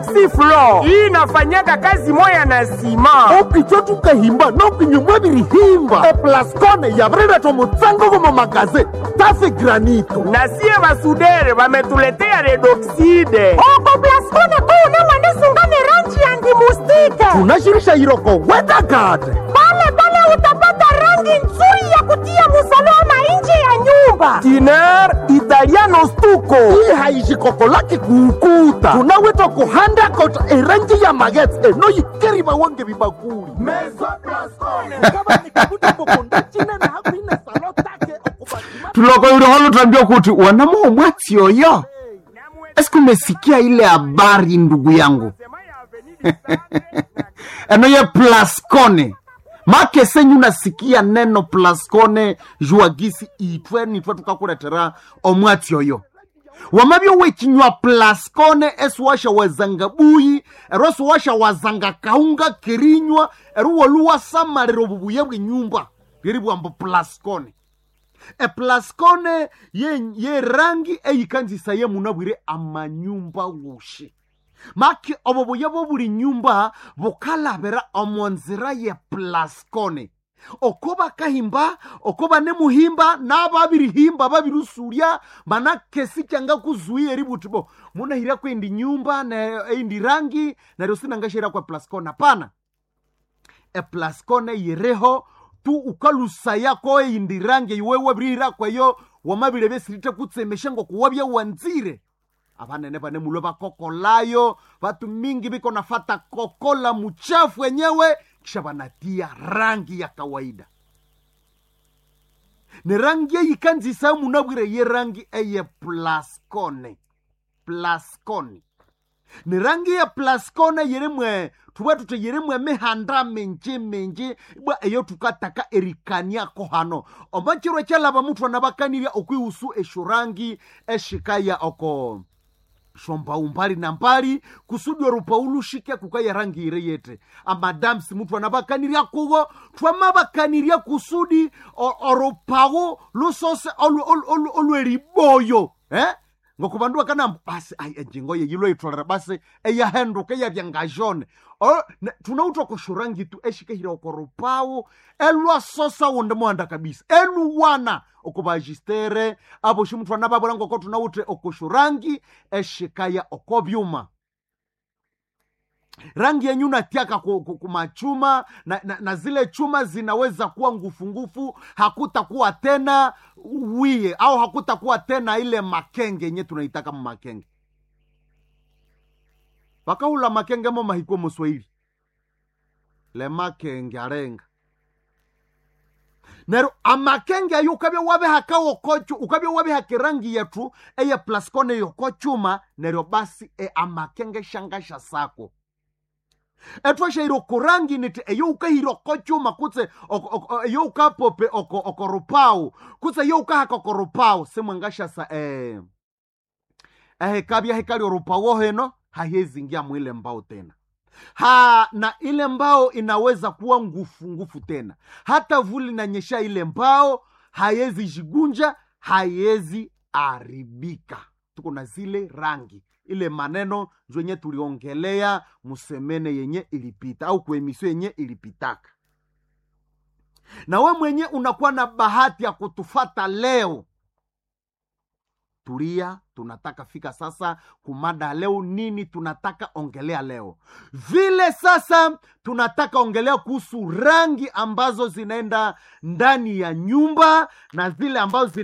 Siflo hii inafanyaka kazi moya na sima okwicho tukahimba nokinyumwa birihimba eplaskone yabirileta omutsango gomo magaze tafe granito na sie basudere bametuletea redoxide Oko plaskone kuune mwanisungane rangi ya ndimustike. tunashirisha iroko wedagade Pale pale utapata rangi nzuri ya kutia musalama nje ya nyumba. Tiner italiano stuko hii haishikokolaki kuukuta tunaweta kuhanda kota erangi ya magetse enoyikeri wange bibakuli Tuloko yule tuambia kuti wanamuo mwatsi oyo. Eske umesikia ile habari ndugu yangu? Eno ye Plascone make senyu nasikia neno Plascone juagisi itwe nitwe tukakuletera omwatsi oyo wamabyo wechinywa Plascone esiwasha wazanga buyi ero esiwasha wazanga kaunga kirinywa ero woluwasamalira obubuya bw'enyumba lyeri bwambo Plascone eplascone ye, ye rangi eyikanzisa ye munabwire amanyumba wushi maki obo buya bwo buli nyumba bukalabira omonzira ye plascone oko bakahimba oko banemuhimba nababirihimba babirusurya mana kesi kyanga kuzuia eributi bo munahira kwendi nyumba na eindi rangi neryo sinangashira kwa plascone hapana eplascone yireho tu ukalusa ko eyindi rangi iwe wabirihira kweyo wamabire besirite kutsemesha ngokuwabya wanzire abanene bane mulwe bakokolayo batu mingi biko nafata kokola muchafu wenyewe kisha banatia rangi ya kawaida ni rangi eyikanzisa munabwire ye rangi eye plascone plascone ni rangi ya plascone yirimwe tuba tuti yirimwe emihanda minji minji bwa eyo tukataka erikaniako hano omachiro kyalaba muthu anabakanirya okwihusu esyo rangi eshikaya oko shombau mbali na mbali kusudi orupau lushike kukaya rangi ire yete amadamsi muthu anabakanirya kuwo twamabakanirya kusudi orupau lusose olweriboyo eh? ngoku bandu bakanamba basi ayi enjingo yeyilo yitholera basi eyahenduka eyabya ngajone tunauta koshorangi tu eshikehira okorupawu elwasosa wonde muhanda kabisa eluwana okubajistere aboshi muthu anababwera ngoko tunawuthe okoshorangi eshikaya okobyuma rangi yenyu natiaka kumachuma na, na, na zile chuma zinaweza kuwa ngufungufu hakutakuwa tena wiye au hakutakuwa tena ile makenge yenye tunaitaka makenge vakahula makenge mo mahikwe muswahili le makenge arenga nero amakenge ayo ukabya wabihakawokochu ukabya wabihaka erangi yetu eye plascone yokochuma neryo basi e amakenge shangasha sako etwashaire okurangi niti eyo ukahira okochuma kutse eyo ukapope okorupau kutse eyo ukahaka okorupau simwangashasa ehekabya hekali orupau heno hahezingia mwile mbao tena ha na ile mbao inaweza kuwa ngufu ngufu tena hata vuli nanyesha ile mbao hayezi jigunja hayezi aribika tuko na zile rangi ile maneno njo yenye tuliongelea musemene yenye ilipita au kuemisio yenye ilipitaka na we mwenye unakuwa na bahati ya kutufata leo tulia tunataka fika sasa kumada leo nini tunataka ongelea leo vile sasa tunataka ongelea kuhusu rangi ambazo zinaenda ndani ya nyumba na zile ambazo zina